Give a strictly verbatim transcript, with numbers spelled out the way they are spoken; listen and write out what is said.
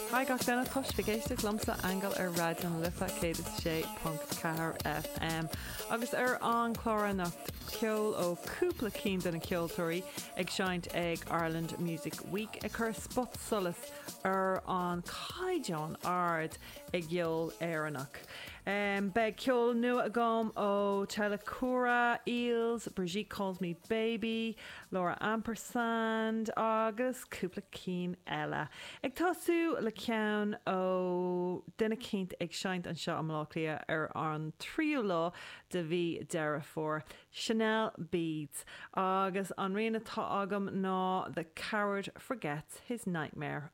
Haigh gach duine tá sibh ag éisteacht liomsa Aingeal ar Raidió na Life céad is sé ponc ceathair FM. Agus ar an chlár anocht ceol ó cúpla cinn de na ceoltóirí ag seinnt ag Ireland Music Week ag cur spotsolas ar an caighdeán ard i gceol Éireannach. Um, Beidh ceol nua agam ó Telecura, Eels, Brigitte Calls Me Baby, Laura Ampersand agus cúpla cinn eile. Ag tosú le ceann ó duine eicínt ag seinnt anseo i mBaile Átha Cliath ar an tríú lá de mhí Deireadh Fómhair. Chanel Beads agus an rian atá agam ná The Coward Forgets His Nightmare.